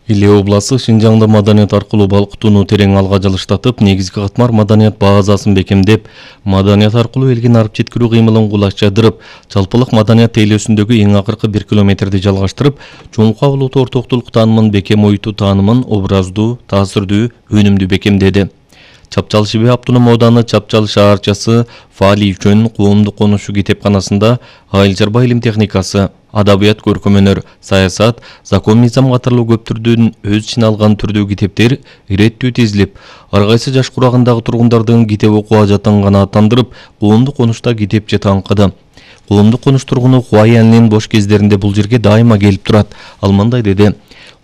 Иле областы Шинжаңда маданият аркылуу балкытууну терең алга жылыштатып, негизги катмар маданият базасын бекемдеп, маданият аркылуу элге арып жеткирүү кыймылын кулачтырып, жалпылык маданият тейлөөсүндөгү эң акыркы 1 километрди жалгаштырып, чоңку улуттуу ортоктулук таанымын бекем оютуу таанымын образдуу, таасирдүү, өнүмдүү бекемдеди. Чапчал Шибе автоном ооданы Чапчал шаарчасы Фали үчүн коомдук конушу китепканасында айыл чарба илим техникасы, адабият, көркөм-өнөр, саясат, закон мыйзам катарлуу көп түрдүн өз ичине алган түрдүү китептер иреттүү тизилип, ар кайсы жаш курагындагы тургундардын китеп окуу ажатын канааттандырып, коомдук конушта китепче таңкыды. Коомдук конуш тургуну Хуаянлин бош кездеринде бул жерге дайыма келип турат. Ал мындай деди: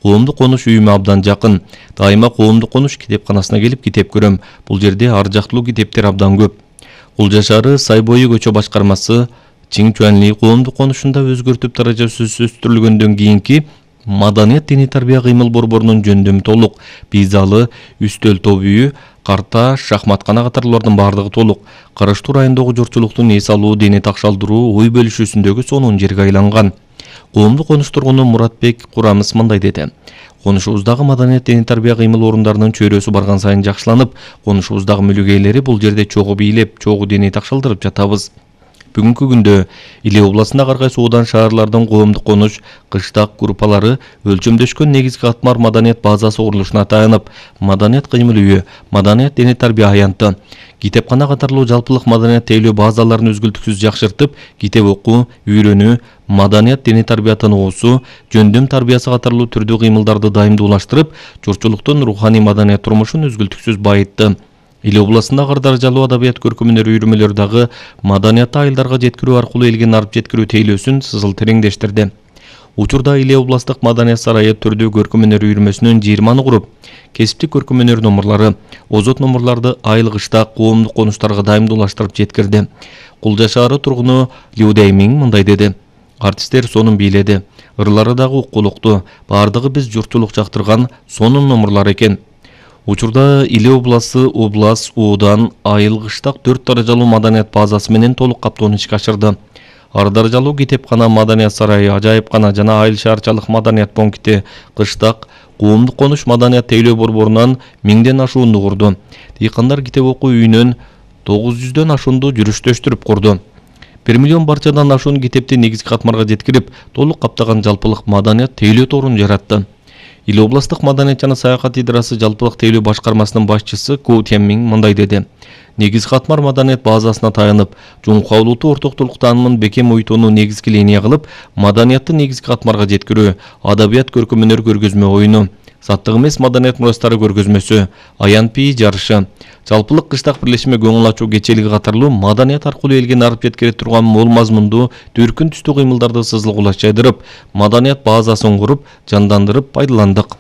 коомдук конуш үйүмө абдан жакын. Дайыма коомдук конуш китепканасына келип китеп көрөм. Бул жерде ар жактуу китептер абдан көп. Кулжа шаары Сайбойу көчө башкармасы Чиңчуанли коомдук конушунда өзгөртүп даражасы өстүрүлгөндөн кийинки маданият диний тарбия кыймыл борборунун жөндөмү толук. Пейзалы, үстөл топ үйү, карта, шахматкана катарлардын бардыгы толук. Караштуу райондогу журтчулуктун эс алуу, дене такшалдыруу, ой бөлүшүүсүндөгү сонун жерге айланган. Коомдук конуш тургуну Муратбек Курамыс мындай деди: конушубуздагы маданият диний тарбия кыймыл орундарынын чөйрөсү барган сайын жакшыланып, конушубуздагы мүлүк ээлери бул жерде чогуу бийлеп, чогуу дене такшалдырып жатабыз. Бүгүнкү күндө Иле областындагы ар кайсы оодан шаарлардын коомдук конуш, кыштак группалары өлчөмдөшкөн негизги катмар маданият базасы курулушуна таянып, маданият кыймыл үйү, маданият дене тарбия аянты, китепкана катарлуу жалпылык маданият тейлөө базаларын үзгүлтүксүз жакшыртып, китеп окуу, үйрөнүү, маданият дене тарбиятын оосу, жөндөм тарбиясы катарлуу түрдүү кыймылдарды дайымдуулаштырып, журтчулуктун руханий маданият турмушун үзгүлтүксүз байытты. Иле областындагы ар даражалуу адабият, көркөм-өнөр үйрөмөлөр дагы маданиятты айылдарга жеткирүү аркылуу элге арып жеткирүү тейлөөсүн сызыл тереңдештирди. Учурда Иле областык маданият сарайы түрдүү көркөм-өнөр үйрөмөсүнүн 20 куруп, кесиптик көркөм-өнөр номурлары, озот номурларды айыл кыштак коомдук конуштарга дайымдуулаштырып жеткирди. Кулжа шаары тургуну Лю Дэймиң мындай деди: артисттер сонун бийледи, ырлары дагы уккулуктуу, бардыгы биз журтчулук жактырган сонун номурлар экен. Учурда Иле областы област, оодан, айыл кыштак 4 даражалуу маданият базасы менен толук каптоону ишке ашырды. Ар даражалуу китепкана, маданият сарайы, ажайыпкана жана айыл шаарчалык маданият пункти, кыштак коомдук конуш маданият тейлөө борборунан 1000ден ашуунду курду. Дыйкандар китеп окуу үйүнөн 900дөн ашуунду жүрүштөштүрүп курду. 1 миллион барчадан ашуун китепти негизги катмарга жеткирип, толук каптаган жалпылык маданият тейлөө торун жаратты. Иле областык маданият жана саякат идарасы жалпылык тейлөө башкармасынын башчысы Ку Тянмиң мындай деди: негизги катмар маданият базасына таянып, жуңку улуттуу ортоктулук таанымын бекем оюутууну негизги линия кылып, маданиятты негизги катмарга жеткирүү, адабият, көркөм-өнөр көргөзмө оюну, саттык эмес маданият мурастары көргөзмөсү, аян пии жарышы, жалпылык кыштак бирлешме көңүл ачуу кечелиги катарлуу маданият аркылуу элге арып жеткире турган мол мазмундуу, дүркүн түстүү кыймылдарды сызыл кулачайдырып, маданият базасын куруп, жандандырып пайдаландык.